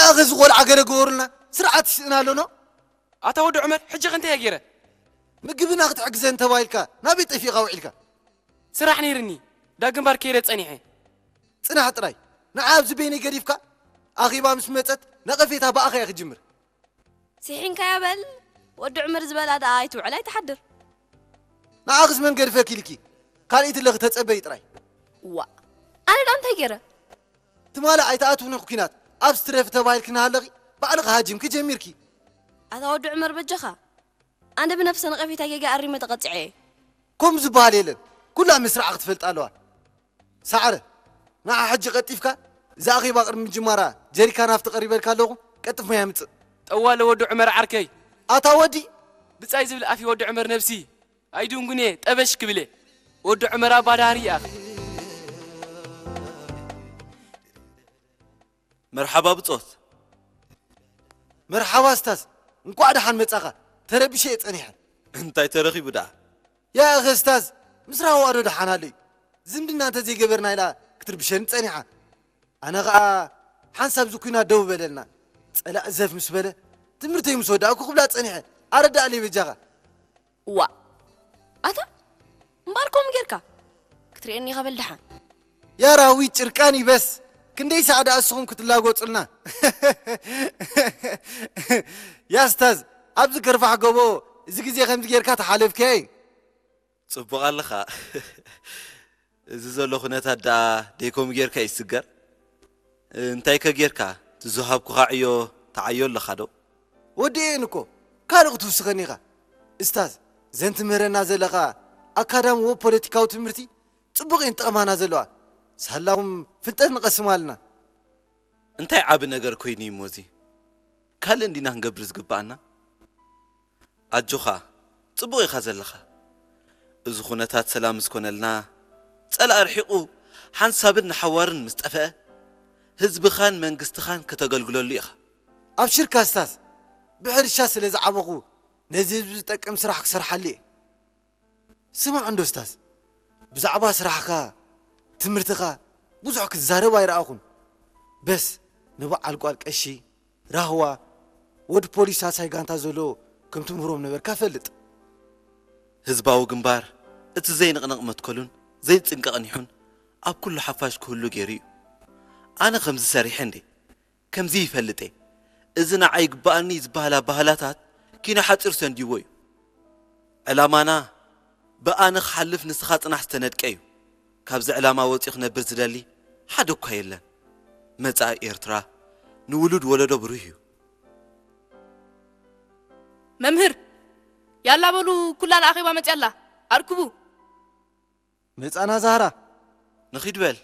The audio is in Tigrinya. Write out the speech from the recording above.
ኣኸ እዚ ቆልዓ ገለ ገበሩልና፣ ስርዓት ይስእን ኣሎኖ። ኣታ ወዲ ዑመር፣ ሕጂ ከ እንታይ እየ ገይረ? ምግብና ክትሕግዘን ተባሂልካ ናበይ ጠፊእኻ ውዒልካ? ስራሕ ነይርኒ፣ ዳግም ባር ከይደ ጸኒሐ። ጽናሕ ጥራይ። ንዓ ኣብዚ በይነይ ገዲፍካ፣ ኣኺባ ምስ መጸት ነቐፌታ ብኣኻ እየ ክጅምር። ስሒንካያ በል። ወዲ ዑመር ዝበላ ደኣ ኣይትውዕል ኣይትሓድር። ንዓኽስ መን ገድፈኪ ኢልኪ? ካልኢት ኣለኺ ተጸበዪ ጥራይ። ዋ፣ ኣነ ደኣ እንታይ ገይረ? ትማሊ ኣይትኣትውኒ ኩናት፣ ኣብ ስትረፍ ተባሂልኪ እናሃለኺ ባዕልኺ ሃጂምኪ ጀሚርኪ። ኣታ ወዲ ዑመር በጃኻ፣ ኣነ ብነፍሰ ነቐፌታ ጌጋ ኣሪመ ተቐጺዐ እየ። ከምኡ ዝበሃል የለን። ኩላ ምስራዕ ክትፈልጥ ኣለዋ። ሳዕረ፣ ንዓ ሕጂ ቀልጢፍካ፣ እዛ ኣኼባ ቅድሚ ምጅማራ ጀሪካን ሃፍቲ ቀሪበልካ ኣለኹ፣ ቀልጥፍ ማይ ኣምጽእ። ጠዋለ ወዲ ዑመር ዓርከይ። ኣታ ወዲ፣ ብጻይ ዝብል ኣፍ ወዲ ዑመር ነብሲ ኣይድንጉን እየ፣ ጠበሽ ክብል እየ። ወዲ ዑመር ኣባ ዳህሪ ይኣኽ። መርሓባ ብጾት። መርሓባ እስታዝ፣ እንቋዕ ደሓን መጻኻ። ተረቢሸ እየ ጸኒሐ። እንታይ ተረኺቡ ደኣ? ያእኸ እስታዝ፣ ምስ ራህዋ ዶ ደሓን ኣሎ እዩ? ዝምድና እንተ ዘይገበርና ኢላ ክትርብሸኒ ጸኒሓ። ኣነ ኸኣ ሓንሳብ እዚ ኲናት ደው በለልና። ጸላእ ዘፍ ምስ በለ፣ ትምህርተይ ምስ ወዳእኩ ክብላ ጸኒሐ። ኣረዳእለይ በጃኻ። ዋ፣ ኣታ እምበኣር ከምኡ ጌርካ ክትርእየኒ ኢኻ በል ደሓን። ያራዊ ጭርቃን ይበስ። ክንደይ ሳዕ ደኣ እስኹም ክትላጎጹልና። ያ እስታዝ፣ ኣብዚ ከርፋሕ ጎቦ እዚ ግዜ ከምዚ ጌርካ ተሓለፍካዮ እዩ። ጽቡቕ ኣለኻ። እዚ ዘሎ ኩነታት ደኣ ደይከምኡ ጌርካ ይስገር። እንታይ ከ ጌርካ? እቲ ዝሃብኩኻ ዕዮ ተዓዮ ኣለኻ ዶ? ወዲኤን እኮ፣ ካልእ ክትውስኸኒ ኢኻ። እስታዝ፣ ዘን ትምህረና ዘለኻ ኣካዳሚ ወይ ፖለቲካዊ ትምህርቲ ጽቡቕ እየን ጠቕማና ዘለዋ። ሳላኹም ፍልጠት ንቐስም ኣለና። እንታይ ዓቢ ነገር ኮይኑ እዩ እሞ እዚ? ካልእ እንዲና ክንገብር ዝግብኣና? ኣጆኻ፣ ጽቡቕ ኢኻ ዘለኻ። እዚ ኩነታት ሰላም ምስ ኮነልና፣ ጸላእ ርሒቑ፣ ሓንሳብን ንሓዋርን ምስ ጠፍአ፣ ህዝብኻን መንግስትኻን ከተገልግለሉ ኢኻ። ኣብሽርካ እስታዝ፣ ብሕርሻ ስለ ዝዓበኹ፣ ነዚ ህዝቢ ዝጠቅም ስራሕ ክሰርሓሉ እየ። ስማዕ እንዶ እስታዝ፣ ብዛዕባ ስራሕኻ፣ ትምህርትኻ ብዙሕ ክትዛረብ ኣይረኣኹን። በስ ንበዓል ጓል ቀሺ፣ ራህዋ፣ ወዲ ፖሊስ ሳልሳይ ጋንታ ዘሎ ከም ትምህሮም ነበርካ እፈልጥ። ህዝባዊ ግንባር እቲ ዘይንቕነቕ መትከሉን ዘይጽንቀቕን ይኹን ኣብ ኩሉ ሓፋሽ ክህሉ ገይሩ እዩ። ኣነ ከምዚ ሰሪሐ እንዴ? ከምዚ ይፈልጥ እየ። እዚ ንዓይ ይግበኣኒ ዝበሃል ኣበሃህላታት ኪኖ ሓጺር ሰንዲዎ እዩ። ዕላማና ብኣነ ክሓልፍ ንስኻ ጽናሕ ዝተነድቀ እዩ። ካብዚ ዕላማ ወጺኡ ክነብር ዝደሊ ሓደ እኳ የለን። መጻኢ ኤርትራ ንውሉድ ወለዶ ብሩህ እዩ። መምህር፣ ያላ በሉ ኩላ ንኣኼባ መጽያ ኣላ። ኣርክቡ። መጻና ዛህራ። ንኺድ በል።